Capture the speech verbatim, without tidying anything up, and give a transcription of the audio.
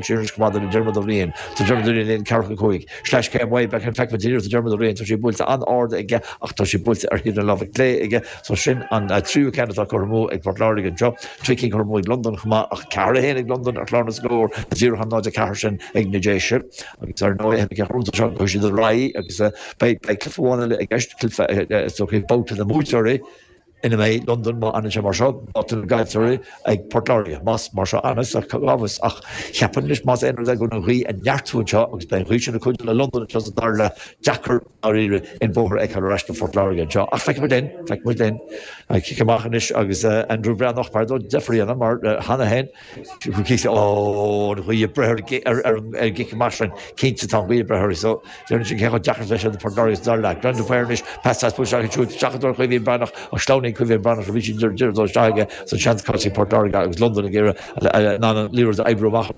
Sin go maith Dermot O'Riain Tá Dermot O'Riain ceathracha cúig. Sleais céim uaidh beidh an feicfidh díreach Dermot O'Riain tá sé buailte an-ard aige ach tá sé buailte ar thaobh na láimhe clé aige so sin an tríú ceann atá curtha amú ag Port Láirge anseo trí cinn curtha amú ag Londain chomh maith ach ceathair a haon ag Londain ar chlár na scór díreach an náid a ceathair sin ag na Déise agus ar ndóigh seo go siad ar aghaidh agus beidh beidh cluiche amháin eile i gceist cluiche so babhta na mbuaiteoirí ina mbeidh Londain má fhanann sé mar seo babhta na gcaillteoirí ag Port Láirge más mar seo anas ach gábhas ach cheapann leis más aon rud é go an ghaoth ag neartú anseo agus beidh an ghaoth sin ag cuidiú le Londain anseo sa dara leath deacair dáiríre an bóthar a fheiceáil ar ais do Phort Láirge anseo ach feicfidh muid linn feicfidh muid linn cic amach anois agus Andrew Breathnach par dó deifir a dhéanamh mar cheana féin ó an ghaoth ag breith ar ar an gcic amach sin cinnte tá an ghaoth ag breith uirthi so déarfainn sin cé chomh deacair is a bheidh sé do Phort Láirge sa dara leath. Glen de Paor anois pas deas buailte isteach ansiúd seachadóir Caoimhín Breathnach ach sleamhnaíonn Caoimhín Breathnach a bhí sí deireadh dul isteach aige san seans caite ag Port Láirge agus Londain ag iarraidh an liathróid a oibriú amach